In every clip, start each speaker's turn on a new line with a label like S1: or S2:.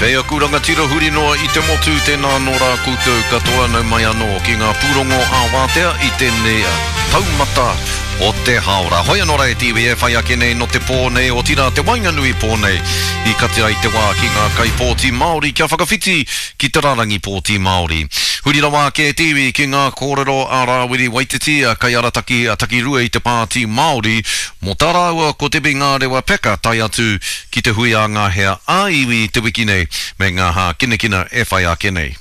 S1: Kei aku rangatira huri noa i te motu, tēnā anō rā koutou katoa, nau mai anō ki ngā pūrongo ā-wātea i tēnei taumata o te hāora. Hoi anō rā e te iwi e whai ake nei nō te pō nei, otirā te waenganui pō nei, i kati ai te wā ki ngā kaipōti Māori kia whakawhiti ki te rārangi pōti Māori. Huri rawa ake e te iwi ki ngā kōrero a Rāwiri Waititi, kaiarataki takirua i te Pāti Māori, mō tā rāua ko Debbie Ngārewa Peka tae atu ki te hui a ngā hea ā-iwi te wiki nei me ngā hākinakina e whai ake nei.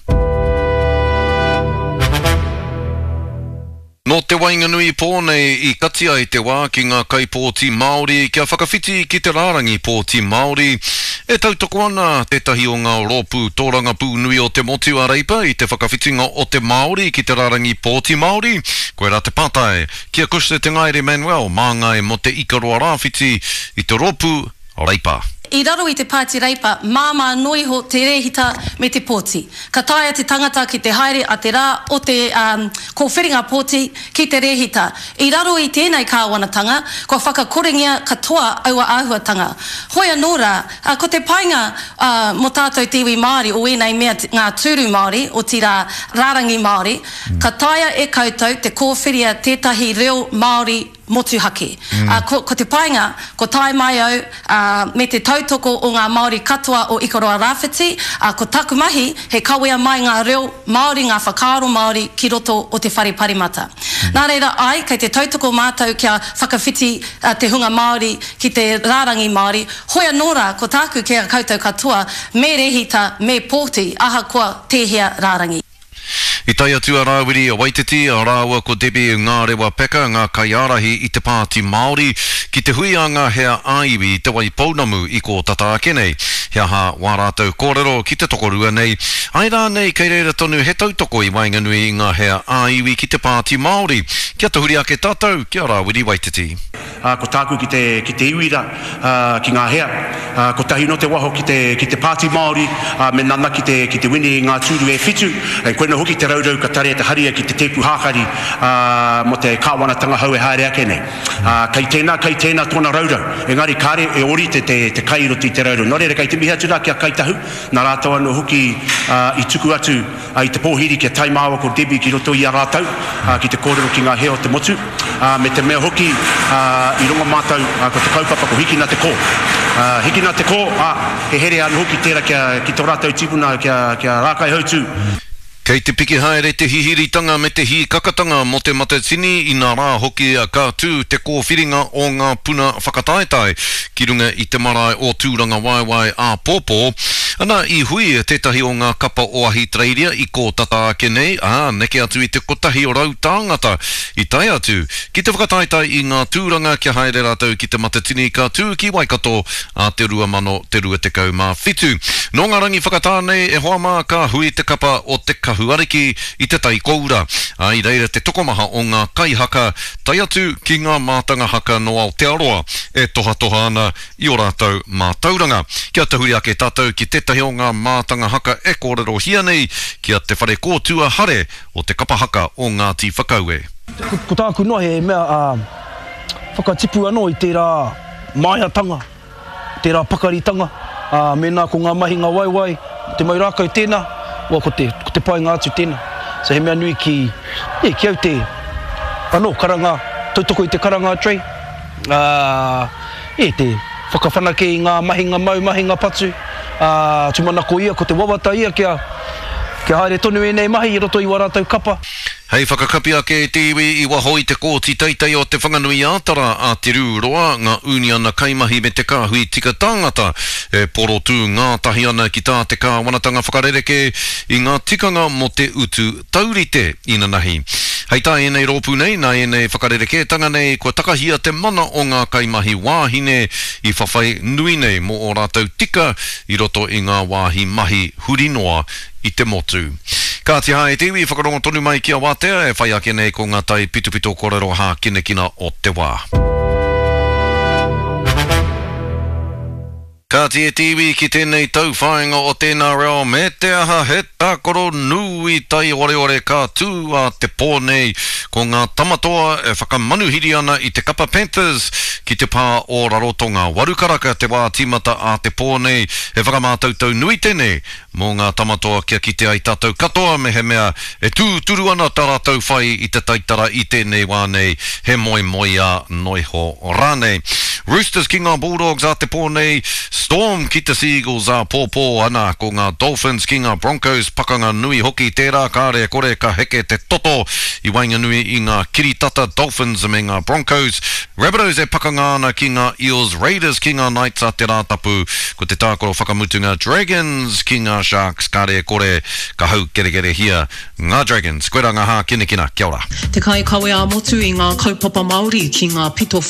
S1: Nō te waenganui pō nei i kati ai te wā ki ngā kaipōti Māori kia whakawhiti ki te rārangi pōti Māori. E tautoko ana tētahi o ngā rōpū tōrangapū nui o te motu a Reipa i te whakawhitinga o te Māori ki te rārangi pōti Māori? Koirā te pātai ki a Cushla Te Ngaere Manuel, māngai mō te Ikaroa Rāwhiti i te rōpū Reipa.
S2: I raro i te Pāti Reipa, māmā noa iho te rēhita me te pōti. Ka taea te tangata ki te haere a te rā o te kōwhiringa pōti ki te rēhita. I raro i tēnei kāwanatanga, kua whakakorengia katoa aua āhuatanga. Hoi anō rā, ko te painga mō tātou te iwi Māori o ēnei mea ngā tūru Māori, otirā rārangi Māori, ka taea e koutou te kōwhiria tētahi reo Māori motuhake. Ā, ko, ko te painga, ko tae mai au, ā, me te tautoko o ngā Māori katoa o Ikaroa Rāwhiti, ā, ko taku mahi, he kawea mai ngā reo Māori, ngā whakaaro Māori ki roto o te Whare Paremata. Nā reira, āe, kei te tautoko mātou kia whakawhiti te hunga Māori ki te rārangi Māori, hoi anō rā, ko tāku ki a koutou katoa, me rehita, me pōti, ahakoa tēhea rārangi.
S1: I tae atu a Rāwiri Waititi rāua ko Debbie Ngārewa Peka, ngā kaiārahi i te Pāti Māori, ki te hui a ngā hea ā-iwi i Te Waipounamu i kō tata ake nei. He aha wā rātou kōrero ki te tokorua nei? Āe rānei kei reira tonu he tautoko i waenganui i ngā hea ā-iwi ki te Pāti Māori? Kia tahuri ake tātou ki a Rāwiri Waititi.
S3: Ā, ko tāku ki te, ki te iwi rā, ā, ki ngā hea, ā, kotahi nō te waho ki te, ki te Pāti Māori, ā, me nanaki te, ki te wini i ngā tūru e whitu, and koina hoki te raurau ka tarea te haria ki te tēpu hākari, ā, mō te kāwanatanga hou e haere ake nei. Ā, kei tēnā, kei tēnā tōna raurau, engari kāre e ōrite te, te kai i roto i te raurau. Nō reira, kei te mihi atu rā ki a Kai Tahu, nā rātou anō hoki, ā, i tuku atu, i te pōhiri kia tae māua ko Debbie ki roto i a rātou, ki te kōrero ki ngā hea o te motu, me te mea hoki i rongo mātou ko te kaupapa ko Hikina te Kō. Hikina te Kō, ā, he here anō hoki tērā kia, ki tō rātou tīpuna kia, kia Rākaihautū.
S1: Kei te piki haere te hihiritanga me te hīkakatanga mō Te Matatini, inā rā hoki ka tū te kōwhiringa o ngā puna whakataetae ki runga i te marae o Tūrangawaewae āpōpō. Ana, i hui tētahi o ngā kapa o Ahitereiria i kō tata ake nei, ā, neke atu i te 100 tāngata i tae atu ki te whakataetae i ngā tūranga kia haere rātou ki Te Matatini ka tū ki Waikato ā te 2027. Nō ngā rangi whakatā nei, e hoa mā, ka hui te kapa o Te Kahu Ariki i Te Tai Koura, ā, i reira te tokomaha o ngā kaihaka, tae atu ki ngā mātanga haka nō Aotearoa e tohatoha ana i ō rātou mātauranga. Kia tahuri ake tātou ki tētahi o ngā mātanga haka e kōrerohia nei, ki a Te Wharekōtua Hare o te kapa haka o Ngāti Whakaue.
S4: Ko tāku noa he mea whakatipu anō i tērā māiatanga, tērā pakaritanga, ā, mēnā ko ngā mahinga waiwai, te mau rākau tēnā, well, ko te, ko te painga atu tēnā. So he mea nui ki, yeah, ki au te, anō, karanga, tautoko i te karanga a Trey, ā, E te whakawhanake i ngā mahinga mau, mahinga patu, ā, tūmanako ia, ko te wawata ia kia, kia haere tonu ēnei mahi i roto i wā rātou kapa.
S1: Hei whakakapi ake i te iwi i waho i te Kōti Teitei o Te Whanganui-ā-Tara a Te Rū Roa, ngā ūniana kaimahi me te kāhui tika tāngata e porotū ngātahi ana ki tā te kāwanatanga whakarerekē i ngā tikanga mō te utu taurite inanahi. Hei tā ēnei rōpū nei, nā ēnei whakarerekētanga nei kua takahia te mana o ngā kaimahi wāhine i whawhai nui nei mō ō rātou tika i roto i ngā wāhi mahi huri noa i te motu. Kāti hā e te iwi, whakarongo tonu mai ki a Wātea e whai ake nei ko ngā tai pitopito kōrero hākinakina o te wā. Kāti e te iwi ki tēnei tauwhāinga o tēnā reo me te aha he tākaro nui taioreore ka tū a te pō nei ko ngā Tamatoa e whakamanuhiri ana i te kapa Panthers ki te pā o Rarotonga. Warukaraka te wā tīmata a te pō nei, he whakamātautau nui tēnei Mō ngā tamatoa kia kite ai tātou katoa mehemea e tūturu ana tā rātou whai i te taitara i tēnei wā nei, he moemoeā noiho rānei. Roosters ki ngā Bulldogs ā te pō nei, Storm ki te Seagulls āpōpō, ana ko ngā Dolphins ki ngā Broncos, pakanga nui hoki tērā, kāre e kore ka heke te toto i waenganui i ngā kiritata Dolphins me ngā Broncos. Rabbitohs e pakanga ana ki ngā Eels, Raiders ki ngā Knights a te Rātapu, ko te tākaro whakamutunga Dragons ki ngā Sharks, kāre e kore ka haukerekerehia ngā Dragons. Koirā ngā hākinakina, kia ora.
S5: Te kaikawe ā-motu i ngā kaupapa Māori ki ngā pito.